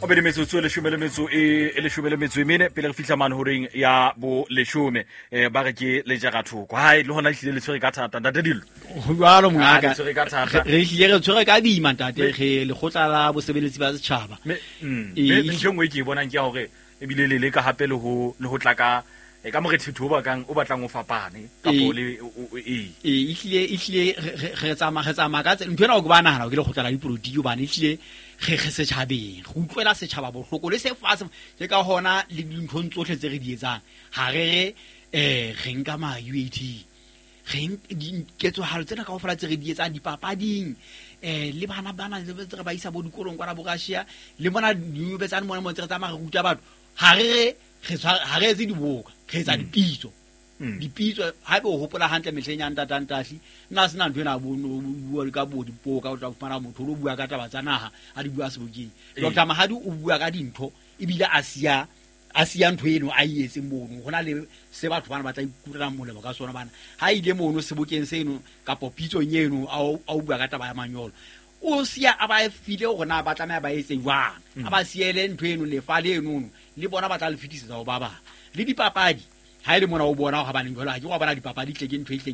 Mabedi metsotso e leshome le metso e e leshome le metso e mene pele re fihla mane horeng ya bo leshome. Ba re ke lejarathoko hae le hona ehlile le tshwere ka thata, ntate Dillo. Ho jwalo, mongaka. Ah, le tshwere ka thata. Re hlile re tshwere ka boima, ntate. Re lekgotla la bosebeletsi ba setjhaba. Mme ntho e nngwe e ke e bonang ke ya hore ebile le leka hape le ho tla ka morethetho o bakang o batlang o fapane kapo le ee. Ee, ehlile re tsamaya ka ntho ena o ke ba nahana ke lekgotla la dipolotiki, hobane ehlile re setjhabeng, re utlwela setjhaba bohloko le se fatshe. Ke ka hona le dinthong tsohle tse re di etsang, ha re re nka ma UAT, re diketsahalo tsena kaofela tse re di etsang dipapading, le bana bana le tse re ba isa bo dikolong kwana bo Russia, le mona diyubetsane mona mo ntse re tsamaya re ruta batho. Ha re re etse diboka, re etsa dipitso. Dipitso, haebe o hopola hantle mehleng ya ntatantahli, nna sena ntho ena bo no bua ka bo dipoka, o tla fumana motho o lo bua ka taba tsa naha, a di bua sebokeng. Dr Mahadi o bua ka dintho, ebile a siya ntho eno a e etseng mono. Ho na le se batho bana ba tla ikutlwelang molemo ka sona. Bana ha ile mono sebokeng seno kapo pitsong eno, a o bua ka taba ya manyolo, o siya a ba file hore na ba tlameha ba etse jwang, a ba siele ntho eno, lefa le enono, le bona ba tla le fetisetsa ho ba bang. Le dipapadi, ha e le mona o bona gabaneng jalo, ha ke wa bona dipapadi tle ke ntho e hleng.